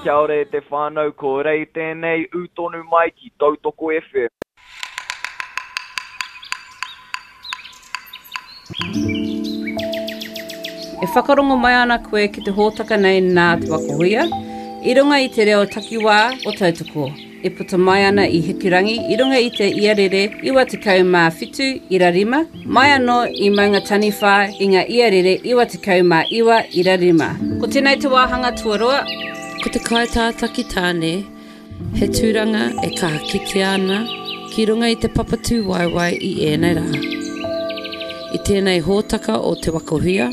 Kia ora e te whānau, ko Rei tēnei, ū tonu mai ki Tautoko FM. E whakarongo mai ana koe ki te hōtaka nei nā Te Waka Huia, i runga i te reo takiwā o Tautoko, e puta mai ana i Hikurangi i runga i te iarere 97 ira 5, mai anō i Maungataniwha i ngā iarere 99 ira 5. Ko tēnei te wāhanga tuarua. Ko te kaitātaki tāne He tūranga e kaha kitea ana ki runga i te papa tūwaewae i ēnei rā. I tēnei hōtaka o Te Waka Huia,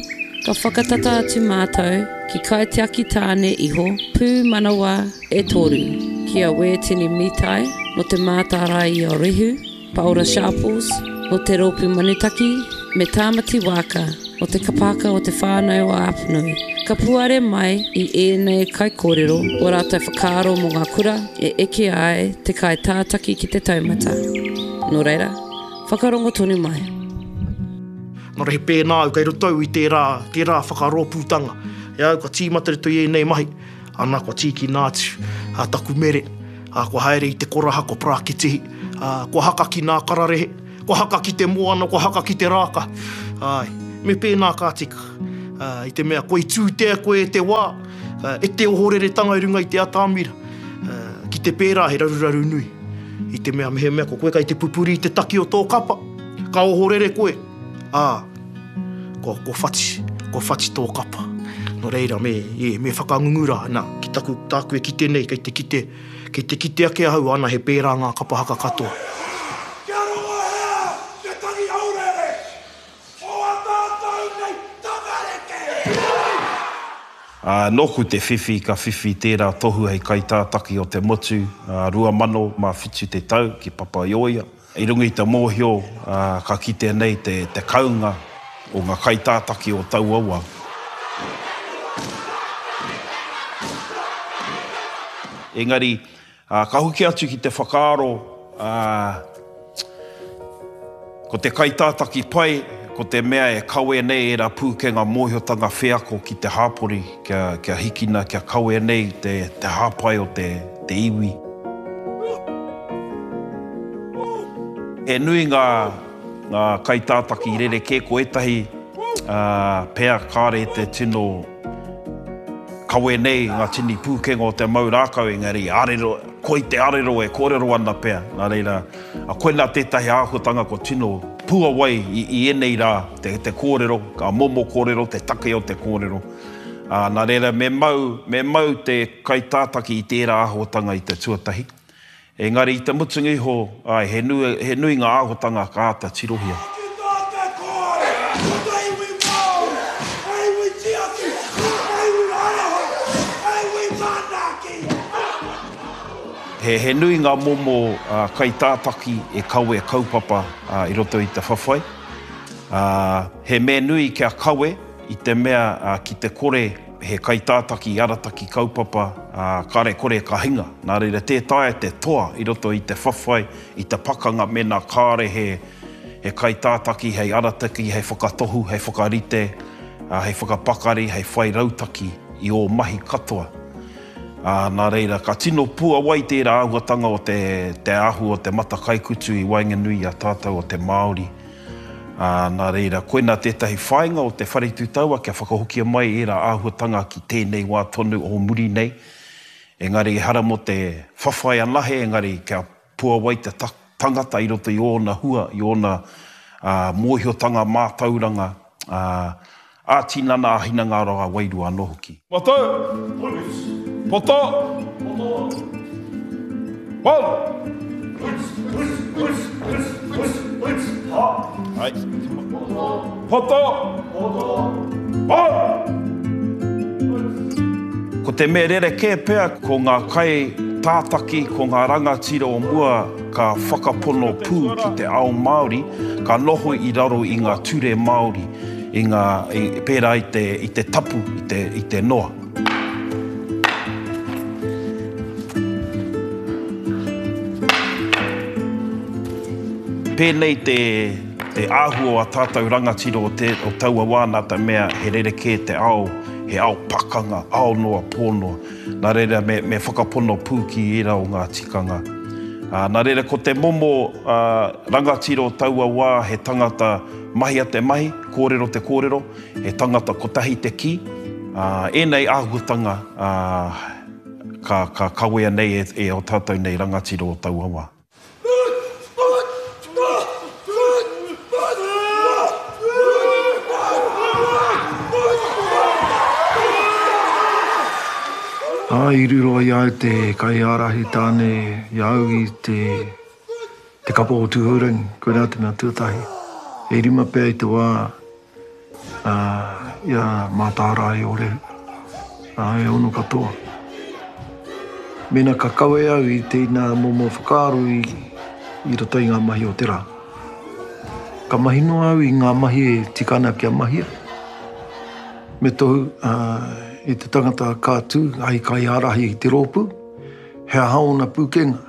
ka whakatata atu mātou ki Kaitiaki Tāne Iho Pūmanawa e Tōru, ki a Wētini Mitai nō Te Mātārae i o Rehu, Paora Sharples, nō Te Rōpū Manutaki, me Tāmati Waaka, nō Te Kapahaka o Te Whānau o Apanui. Ka puare mai i ēnei kaikōrero ō rātou whakaaro mō ngā kura e eke ai te kaitātaki ki te taumata. Nō reira, whakarongo tonu mai. Nō reira he pēnā au kei roto au i tērā, tērā whakarōpūtanga. E au kua tīmata roto i ēnei mahi, ana kua tīkina atu a taku mere, ā, kua haere i te koraha, kua parakitihi, ā, kua haka ki nā kararehe, kua haka ki te moana, kua haka ki te rāka. Āe, me pēnā ka tika. Ā, i te mea koi tūtea koe e te wā, ā, e te ohoreretanga i runga i te atamira, ā, ki te pērā he raruraru nui. I te mea mehemea ko koe kai te pupuri i te taki o tō kapa, ka ohorere koe, ā, kua, kua whati, kua whati tō kapa. Nō reira, me, e, me whakangungu rā, nā, ki taku, tāku e kite nei, kei te kite, kei te kite ake ahau, ana he pērā ngā kapa haka katoa. Kia rongohea te tangi haurere o a tātou nei tamariki! Ā, nōku te whiwhi, ka whiwhi tērā tohu hei kaitātaki o te motu, ā, 2000 mā whitu te tau ki Papaioea. I runga i te mōhio, ka kitea nei te kounga o ngā kaitātaki o taua wā. Engari, ka hoki atu ki te whakaaro, ko te kaitātaki pai, ko te mea e kawe nei ērā pūkenga mōhiotanga wheako ki te hāpori, kia hikina, kia kawe nei te hāpai o te iwi. He nui ngā ngā kaitātaki rerekē, ko ētahi pea kāore te tino kawe nei ngā tini pūkenga o te mau rākau, engari arero, koi te arero e kōrero ana pea. Nā reira, koinā tētahi āhuatanga kua tino puawai i, i ēnei rā, te, te kōrero, ngā momo kōrero, te take o te kōrero. Ā, nā reira, me mau, me mau te kaitātaki i tērā āhuatanga i te tuatahi. Engari i te mutunga iho, āe, he nui, he nui ngā āhuatanga ka āta tirohia. Ki tā te kōare, ko te iwi Māori, he iwi tiaki, he iwi aroha, he iwi manaaki. He, he nui ngā momo kaitātaki e kawe kaupapa i roto i te whawhai. Ā, he mea nui kia kawe i te mea ki te kore he kaitātaki arataki kaupapa, ā, kāre kore ka hinga. Nā reira, tē taea te toa i roto i te whawhai, i te pakanga mēnā kāre he, he kaitātaki hei arataki, hei whakatohu, hei whakarite, ā, hei whakapakari, hei whai rautaki i ō mahi katoa. Ā, nā reira, ka tino puawai tērā āhuatanga o te, te āhua o te matakaikutu i waenganui i a tātou o te Māori. Ā, nā reira, koinā tētahi whāinga o te Whare Tū Taua kia whakahokia mai ērā āhuatanga ki tēnei wā tonu o muri nei. Engari ehara mō te whawhai anahe, engari kia puawai te tangata i roto i ōna hua, i ōna mōhiotanga mātauranga, ā, ā-tinana, ā-hinengaro, ā-wairua anō hoki. Poto! Poto! One! Poto! One! Ko te mea rerekē pea ko ngā kai tātaki, ko ngā rangatira o mua ka whakapono pū ki te ao Māori, ka noho i raro i ngā ture Māori. I ngā, i, pērā i te, i te tapu, i te, i te noa. Pēnei te, te āhua o a tātou rangatira o te, o taua wā nā te mea he rerekē te ao, He ao pakanga, ao noa, pō noa. Nā reira, me, me whakapono pū ki ērā o ngā tikanga. Ā, nā reira, ko te momo ā, rangatira o taua wā, he tangata mahia te mahi, kōrero te kōrero, he tangata kotahi te kī. Ā, ēnei āhuatanga, ā, ka, ka kawea nei e, e ō tātou nei rangatira o taua wā. Ā, i riro i a au te kaiārahi tāne i a au i te, te kapa o Tūhourangi, koirā te mea tuatahi. E rima pea i te wā ā, i a Mātārae o Rehu, ā, e ono katoa. Mēnā ka kawe au i tēnā momo whakaaro i, i roto i ngā mahi o te rā. Ka mahi noa au i ngā mahi e tika ana kia mahia. Me tohu ā, i te tangata ka tū hei kaiārahi i te rōpū, he aha ōna pūkenga,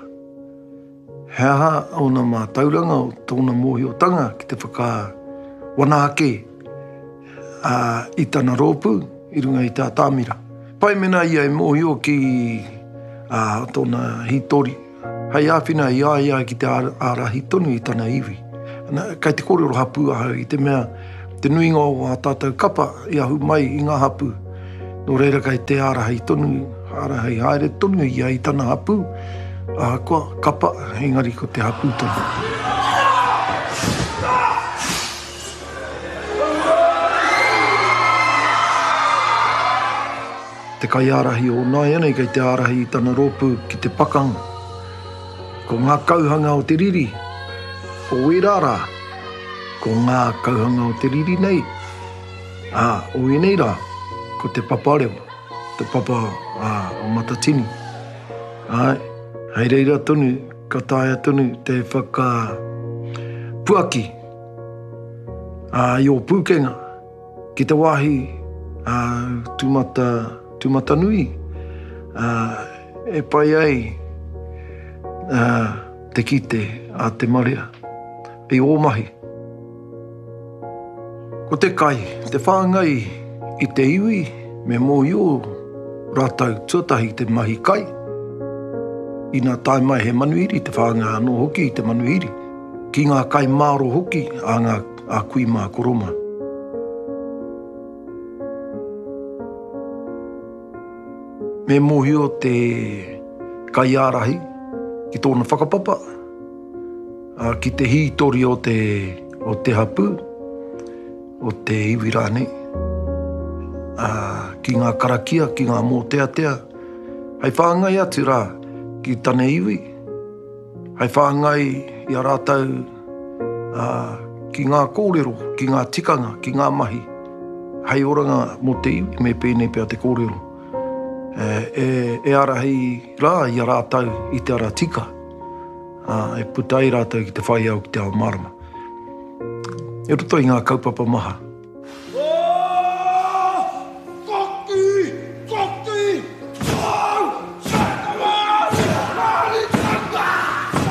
He aha ōna mātauranga, tōna mōhiotanga ki te whakawana ake i tana rōpū i runga i te atamira? Pai mēnā ia e mōhio ki tōna hītori, hei āwhina i a ia ki te ārahi tonu i tana iwi. Kei te kōrero hapū ahau i te mea te nuinga o ā tātou kapa i ahu mai i ngā hapū. Nō reira kei te ārahi tonu, ārahi haere tonu ia i tana hapū, ahakoa kapa, engari ko te hapū tonu. Te kaiārahi o nāianei kei te ārahi i tana rōpū ki te pakanga. Ko ngā kauhanga o te riri o ērā rā, ko ngā kauhanga o te riri nei, Ā, o ēnei rā, ko te paparewa, te papa o Matatini. Āe, hei reira tonu, ka taea tonu te whakapuaki i ō pūkenga ki te wāhi tūmata, tūmatanui e pai ai te kite a te marea i ō mahi. Ko te kai, te whāngai i te iwi me mōhio rātou tuatahi te mahi kai. Ina tae mai he manuhiri, te whāngai anō hoki i te manuhiri, ki ngā kai māro hoki a ngā a kui mā koro mā. Me mōhio te kaiārahi ki tōna whakapapa, ki te hītori o te, o te hapū, o te iwi rānei, ā, ki ngā karakia, ki ngā mōteatea, hei whāngai atu rā ki tana iwi, hei whāngai i a rātou ā, ki ngā kōrero, ki ngā tikanga, ki ngā mahi, hei oranga mō te iwi, me pēnei pea te kōrero, e, e, e ārahi rā i a rātou i te ara tika. Ā, e puta ai rātou ki te whai ao ki te ao mārama. I roto i ngā kaupapa maha.